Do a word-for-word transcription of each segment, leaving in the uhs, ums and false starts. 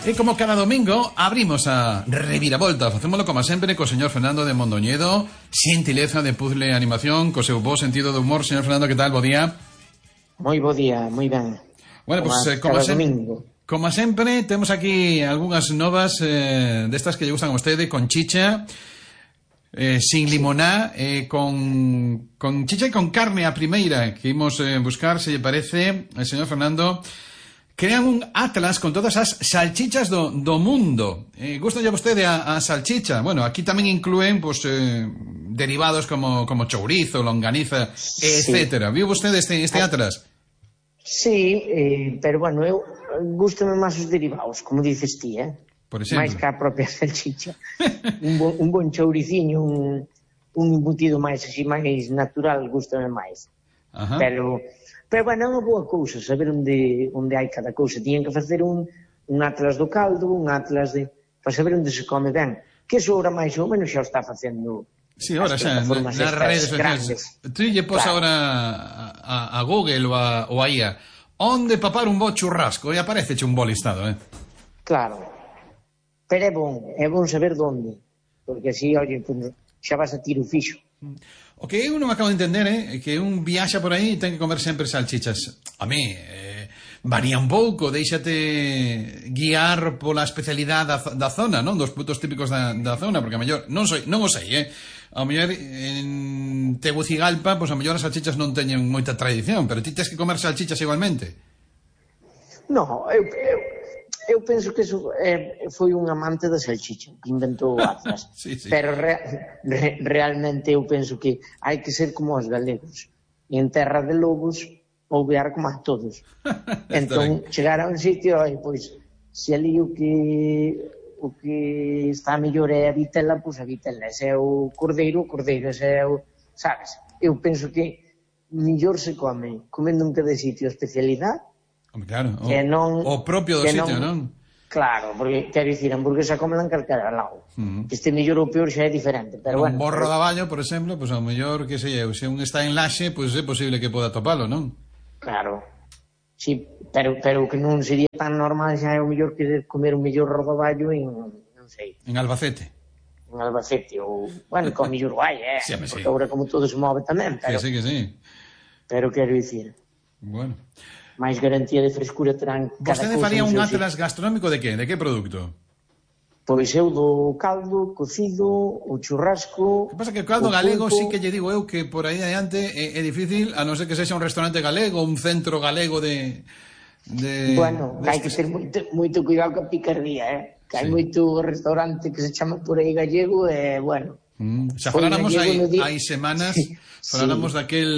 E como cada domingo abrimos a Reviravolta. Facémolo como sempre co señor Fernando de Mondoñedo, xentileza de puzzle animación, co seu bo sentido de humor. Señor Fernando, que tal? Bo día. Moi bo día, moi ben. Bueno, como pues eh, como, se... domingo. como sempre temos aquí algunhas novas eh, destas que lle gustan a vostede, con chicha, eh, sin limoná, eh, con, con chicha e con carne a primeira, que imos eh, buscar, se lle parece, el señor Fernando. Crean un atlas con todas as salchichas do, do mundo. Eh, gusta ya vostede a, a salchicha? Bueno, aquí tamén incluen pues, eh, derivados como, como chourizo, longaniza, sí, etcétera. ¿Viu vostede este, este atlas? Sí, eh, pero bueno, eu gustame máis os derivados, como dices ti, eh? Por exemplo? máis que a propia salchicha. un, bon, un bon chouriciño, un, un embutido máis así, máis natural, gustame máis. Ajá. Pero... Pero, bueno, é unha boa cousa saber onde, onde hai cada cousa. Tiñen que facer un, un atlas do caldo, un atlas de... para saber onde se come ben. Que eso ahora máis ou menos xa o está facendo... Sí, ahora xa, nas na redes sociais. Tú lle pos claro. Ahora a, a Google ou a, ou a I A onde papar un bo churrasco e apareceche un bo listado, eh? Claro. Pero é bon, é bon saber onde. Porque así, oye, pues, xa vas a tiro fixo. O que eu non acabo de entender é eh, que un viaxa por aí e ten que comer sempre salchichas. A mí, eh, varía un pouco, deixate guiar pola especialidade da, da zona, non? Dos putos típicos da, da zona, porque a mellor, non, soy, non o sei, eh? A mellor en Tegucigalpa, pois pues, a mellor as salchichas non teñen moita tradición, pero ti tens que comer salchichas igualmente. No, eu... eu... Eu penso que eso eh, foi un amante da salchicha que inventou o atlas. Sí, sí. Pero re, re, realmente eu penso que hai que ser como os galegos. E en terra de lobos, ouvear como a todos. Entón, chegar a un sitio, e, pois, se ali o que o que está mellor é a vitela, pois a vitela. Se é o cordeiro, o cordeiro. Se é o... Sabes? Eu penso que mellor se come comendo en cada sitio a especialidade. Claro, o, que non, o propio do sitio, non? non? Claro, porque, quero dicir, a hamburguesa comela en calquera lado. Uh -huh. Este mellor ou peor xa é diferente, pero un bueno. Un borro pero... de aballo, por exemplo, pois pues, ao mellor, que sei eu, se un está en Laxe, pois pues, é posible que poda topalo, non? Claro. Sí, pero, pero que non sería tan normal xa é o mellor que comer un mellor rodaballo en, non sei. En Albacete. En Albacete, ou, bueno, con mellor guai, eh? Sí, porque sí. agora como todo se move tamén, pero... Que sí, que sí. Pero quero dicir... Bueno... máis garantía de frescura terán cada cousa. Vostede faría un atlas gastronómico de que? De que produto? Pois eu do caldo, cocido, o churrasco... Que pasa que o caldo o galego pulpo... sí que lle digo eu que por aí adiante é, é difícil, a non ser que sexa un restaurante galego, un centro galego de... de bueno, de hai que ter moito, moito cuidado ca picardía, eh? Que hai sí. moito restaurante que se chama por aí gallego e, bueno... Mm, xa faláramos hai, hai semanas, sí. faláramos sí. daquel...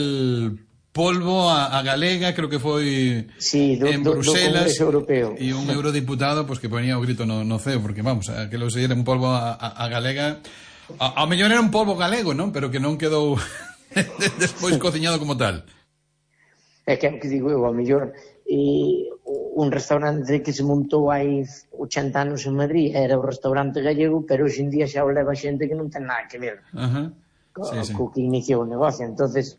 polvo a, a galega, creo que foi sí, do, en Bruselas do Europeo. E un eurodiputado pues, que ponía o grito no, no ceo, porque vamos, que lo era un polvo a, a, a galega, a, a mellor era un polvo galego, non? Pero que non quedou despois cociñado como tal. É que é o que digo eu, a mellor e, un restaurante que se montou hai ochenta anos en Madrid era o restaurante gallego, pero hoxe en día xa o leva xente que non ten nada que ver uh -huh. co, sí, sí. co que iniciou o negocio, entonces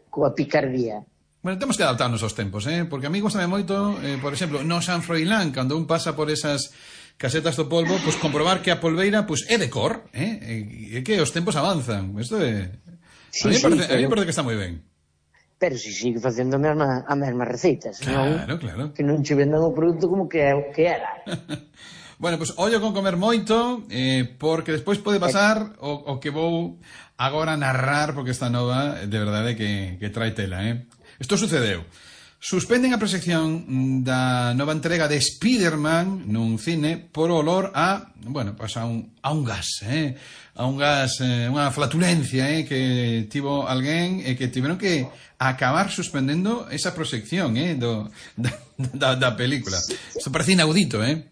coa picardía. Bueno, temos que adaptarnos aos tempos, eh? Porque a mí gustame moito, eh, por exemplo, no San Froilán, cando un pasa por esas casetas do polvo, pues comprobar que a polveira pues, é de cor, eh? E que os tempos avanzan. Isto é... Sí, a mí sí, parece, pero... a mí parece que está moi ben. Pero si sigue facendo a mesma, a mesma receita, senón claro, claro. que non che vendan o produto como que é o que era. Bueno, pues ollo con comer moito, eh, porque despois pode pasar o, o que vou agora narrar, porque esta nova, de verdade, que, que trae tela, eh? Isto sucedeu. Suspenden a proxección da nova entrega de Spiderman nun cine por olor a, bueno, pues a un, a un gas, eh? A un gas, eh, unha flatulencia, eh? Que tivo alguén e que tiveron que acabar suspendendo esa proxección, eh? Do, da, da, da película. Isto parece inaudito, eh?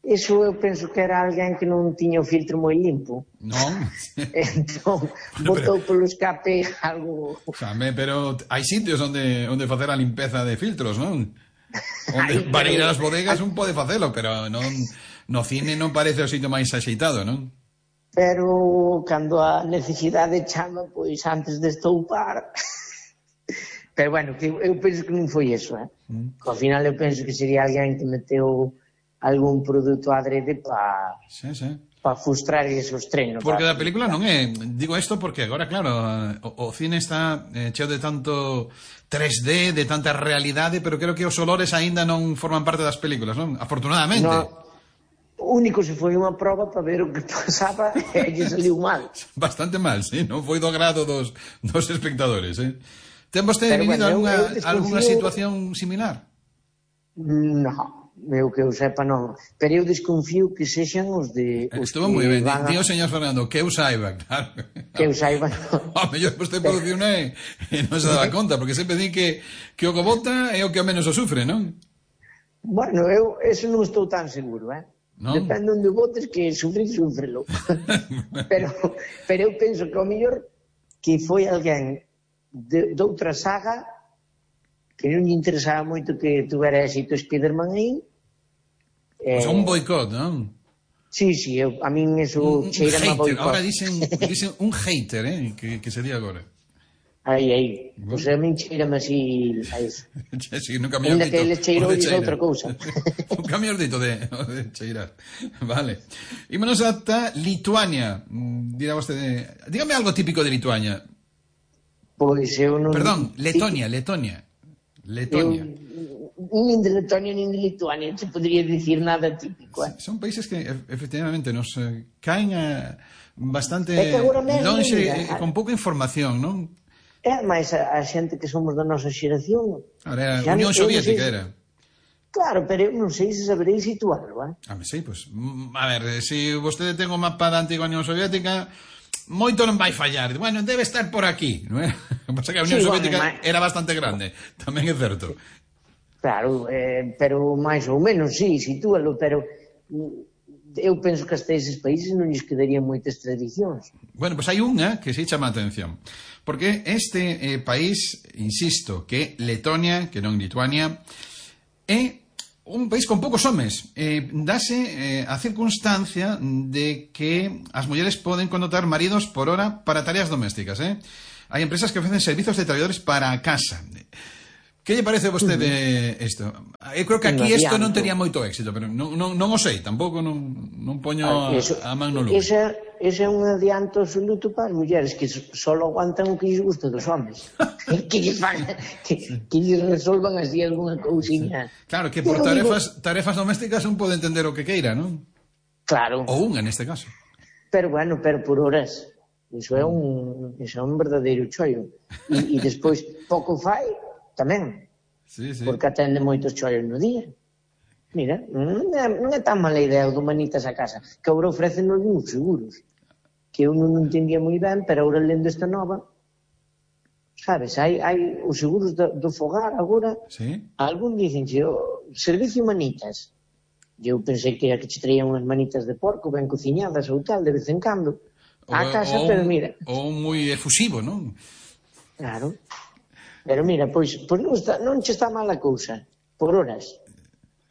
Eso eu penso que era alguén que non tiña o filtro moi limpo. Non? Entón, botou polo escape algo... Xame, pero hai sitios onde onde facer a limpeza de filtros, non? Onde Ay, para ir ás bodegas un pode facelo, pero non no cine non parece o sitio máis axeitado, non? Pero cando a necesidade chama, pois antes de estoupar... Pero bueno, que eu penso que non foi eso, eh? Mm. Ao final eu penso que sería alguén que meteu algún produto adrede para sí, sí. pa frustrar esos treinos. Porque da película non é, digo isto porque agora, claro, o, o cine está eh, cheo de tanto tres D, de tanta realidade, pero creo que os olores aínda non forman parte das películas, non? Afortunadamente. No. O único se foi unha proba para ver o que pasaba e lle saliu mal. Bastante mal, sí, non foi do agrado dos, dos espectadores, eh? Ten vostede vivido bueno, alguna, desconfío... alguna situación similar? No, eu que eu sepa non. Pero eu desconfío que sexan os de... Os Estuvo moi ben, a... tío señor Fernando, que eu saiba, claro. Que eu saiba, non. A mellor vostede produciu e non se dá conta, porque sempre di que, que o que vota é o que ao menos o sufre, non? Bueno, eu eso non estou tan seguro, eh? ¿No? Depende onde votes que sufrir, sufrelo. pero, pero eu penso que ao mellor que foi alguén de, de outra saga que non lle interesaba moito que tuvera éxito Spiderman aí. Pues eh, un boicot, non? Sí, sí, eu, a min eso cheira a boicot. Ahora dicen, dicen un hater, eh, que, que sería agora. Aí, aí. Pois a min cheirame así a iso. Sí, nunca me has dito. Ainda que ele cheirou dice outra cousa. Nunca me has dito de, de cheirar. Vale. Ímonos ata Lituania. Dirá vostede... Dígame algo típico de Lituania. Pois eu non... Perdón, Letonia, Letonia. Letonia. Eu, nin de Letonia nin de Lituania se podría dicir nada típico. Eh? Son países que efectivamente nos eh, caen a bastante longe, eh, con pouca información, non? É máis a, a xente que somos da nosa xeración. Ahora, a Unión Soviética era. Claro, pero eu non sei se saberéis situarlo, eh? Ah, sí, pues, a ver, se si vostede ten o mapa da antiga Unión Soviética, moito non vai fallar. Bueno, debe estar por aquí, non é? Pasa que a Unión sí, Soviética bueno, era bastante grande, tamén é certo. Claro, eh, pero máis ou menos, sí, sitúalo, pero eu penso que hasta eses países non lles quedarían moitas tradicións. Bueno, pois pues hai unha que se chama a atención. Porque este eh, país, insisto, que Letonia, que non Lituania, é un país con poucos homes. Eh, dase eh, a circunstancia de que as mulleres poden connotar maridos por hora para tareas domésticas. Eh? Hai empresas que ofrecen servizos de traballadores para a casa. Que lle parece a vostede isto? Eu creo que aquí isto non tería moito éxito, pero non, non, non o sei, tampouco non, non poño a, a man no lume. Esa, esa é un adianto absoluto para as mulleres que só aguantan o que lles gusta dos homens. que lles fan, que, que lles resolvan así alguna cousiña. Claro, que por tarefas, tarefas domésticas un pode entender o que queira, non? Claro. Ou unha neste caso. Pero bueno, pero por horas. Iso é un, iso é un verdadeiro chollo. E, e despois, pouco fai, tamén, sí, sí. Porque atende moitos chollos no día. Mira, non é, non é tan mala idea o do manitas a casa, que agora ofrecen algúns seguros, que eu non entendía moi ben, pero agora lendo esta nova, sabes, hai, hai os seguros do, do fogar agora, sí. Algún dicen, o servicio manitas, eu pensei que era que che traían unhas manitas de porco ben cociñadas ou tal, de vez en cando, a casa, o, pero mira... Ou moi efusivo, non? Claro. Pero mira, pois, pois non, está, non che está mala cousa, por horas.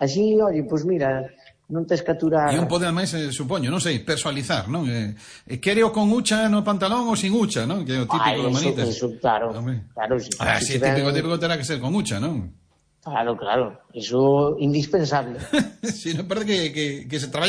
Así, oi, pois mira, non tes que aturar... E un pode, máis, eh, supoño, non sei, personalizar, non? Eh, quereo con hucha no pantalón ou sin hucha, non? Que é o típico Ay, do manitas. Eso, claro, claro. Si, ah, si, si típico, típico terá que ser con hucha, non? Claro, claro, eso indispensable. Si, non parece que, que, que se traballa